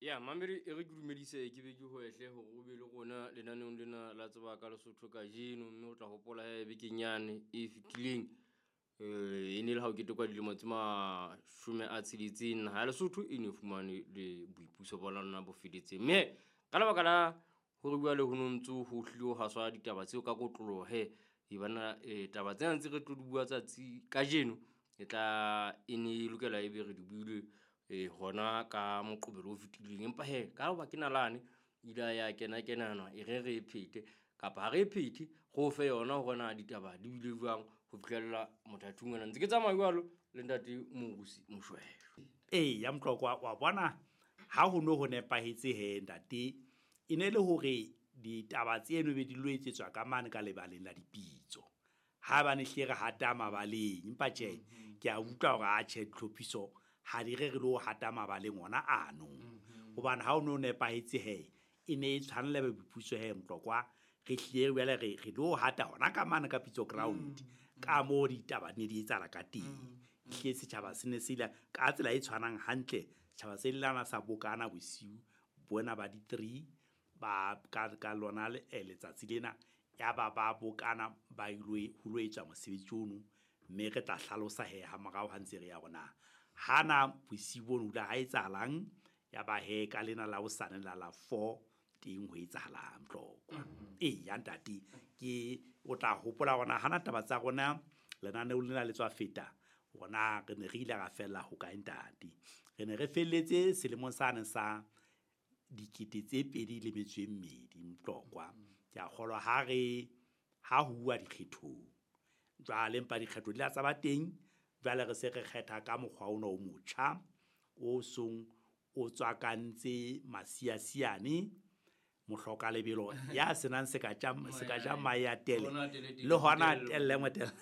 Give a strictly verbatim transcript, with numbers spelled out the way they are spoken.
Ya mamedi, e re ke dumedise, ke be ke hwehle hore o be le rona lenaneong lena la Tseba ka Lesotho kajeno. Mme o tla hopola he bekeng yane e fetileng, e ne le ha o ketekwa dilemo tse mashome a tsheletseng naha ya Lesotho e ne fumane le boipuso ba lona bo felletseng. Mme ka lebaka la hore jwale ho no ntso ho hlile ho haswa ditaba tseo ka kotloloho he, e bana taba tsena tse re tlo di bua tsatsi kajeno e tla e ne e lokela ebe re di buile hona ka Moqebelo o fetileng. Empa he ka hoba ke nalane, ile ya kena kenana e re re e phete kapa ha re e phethe, re o fe yona hore na ditaba di bile jwang ho fihlella mothating ona. Ntse ke tsamaya jwalo le ntate Morusi Moshweshwe. Eya Motlokwa, wa bona ha ho no ho nepahetse he ntate, e ne le hore ditaba tseno be di lo etsetswa ka mane ka lebaleng la dipitso. Ha ba ne hlile re hata mabaleng, empa tjhe, ke a utlwa hore atjhe ditlhophiso ha di re re lo hata mabaleng ona ano. Hobane ha o no nepahetse he, e ne e tshwanela boipuso he Motlokwa, re hlile jwale re re lo hata hona ka mane ka pitso ground, ka moo ditaba di ne di etsahala ka teng. Ehlile setjhaba se ne se ile ka tsela e tshwanang hantle, setjhaba se lana sa bokana bosiu bona ba di-three ba ka ka lona letsatsi lena, ya ba ba bokana ba ilo ho lo etswa mosebetsi ono. Mme re tla hlalosa he ha morao ha ntse re ya hore na hana bosiu bono ho ile ha etsahalang, ya ba he ka lena la hosane la la four teng ho etsahalang Motlokwa. Eya ntate, ke o tla hopola hore na hana taba tsa rona lenaneo lena le tswa feta, hore re ne re ile ra fella ho kae ntate. Re ne re felletse selemong sane sa dikete tse pedi le metso e mmedi Motlokwa. Ke a kgolwa ha re ha ho uwa dikgethong. Jwale empa dikgetho di la tsa ba teng, jwale re se re kgetha ka mokgwa ona o motjha o song o tswakantse masiasiane, mohloka lebelo ya senang seka tja seka ja mahe a tele le hona telle motele.